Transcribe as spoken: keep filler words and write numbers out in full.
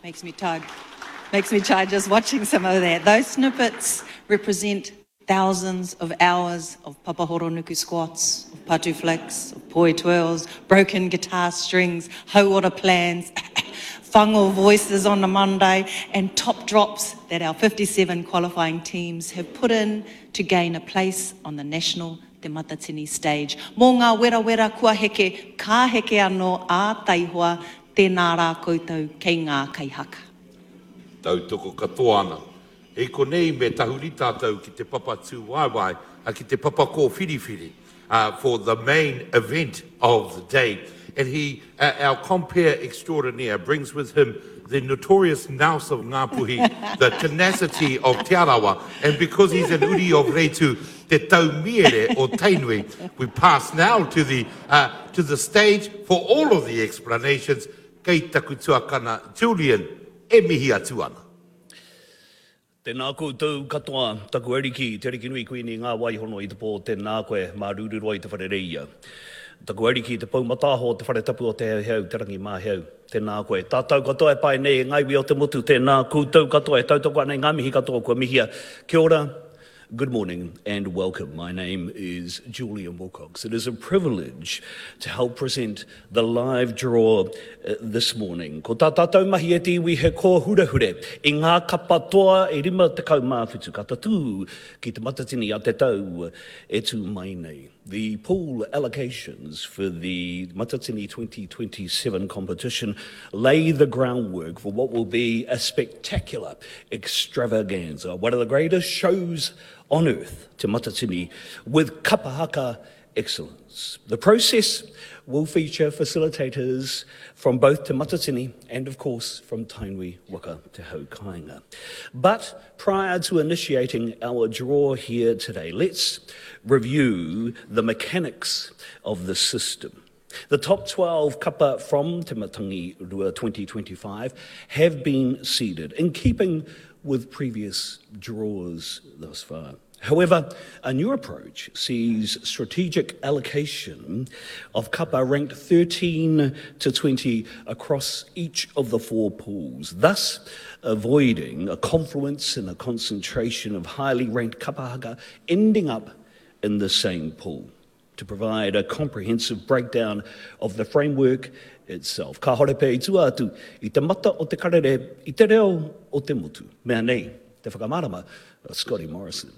Makes me tired. Makes me tired just watching some of that. Those snippets represent thousands of hours of papahoronuku squats, of patu flicks, of poi twirls, broken guitar strings, hauora plans, whango voices on a Monday, and top drops that our fifty-seven qualifying teams have put in to gain a place on the national Te Matatini stage. Mō ngā werawera kua heke, ka heke anō ā taihoa, tēnā rā koutou kei ngā kaihaka. Tautoko katoa ana. I konei me tahuri tātou ki te papa tūwaewae, a ki te papa kōwhiriwhiri, uh, for the main event of the day. And he, uh, our compere extraordinaire, brings with him the notorious nous of Ngāpuhi, the tenacity of Te Arawa, and because he's an uri of Reitu, te taumiere o Tainui, we pass now to the, uh, to the stage for all of the explanations. Kei taku tuakana, Julian, e mihi atu ana. Tēnā koutou katoa, taku ariki, te ariki nui kuini ngā waihono i te pō, tēnā koe, mā rūrūroa i te whare reia. Taku ariki, te pou mataaho, te whare tapu o te heuheu, te rangi māheu, tēnā koe. Tātou katoa e pai nei e ngā iwi o te motu, tēnā koutou katoa e tautoko ana i ngā mihi katoa kua mihia. Kia ora, good morning and welcome. My name is Julian Wilcox. It is a privilege to help present the live draw uh, this morning. Ko tā tātou mahi e te iwi he kōhurehure i ngā kapa toa e rima tekau mā whitu ka tatū ki te Matatini a te tau e tū mai nei. The pool allocations for the Matatini twenty twenty-seven competition lay the groundwork for what will be a spectacular extravaganza, one of the greatest shows on earth, Te Matatini, with kapahaka excellence. The process will feature facilitators from both Te Matatini and, of course, from Tainui Waka Te Haukainga. But prior to initiating our draw here today, let's review the mechanics of the system. The top twelve kapa from Te Matangi Rua twenty twenty-five have been seeded, in keeping with previous draws thus far. However, a new approach sees strategic allocation of kapa ranked thirteen to twenty across each of the four pools, thus avoiding a confluence and a concentration of highly ranked kapahaka ending up in the same pool. To provide a comprehensive breakdown of the framework itself. Ka hore pe i tua atu i te mata o te karere, i te reo o te motu. Mea nei, te whakamarama, Scotty Morrison.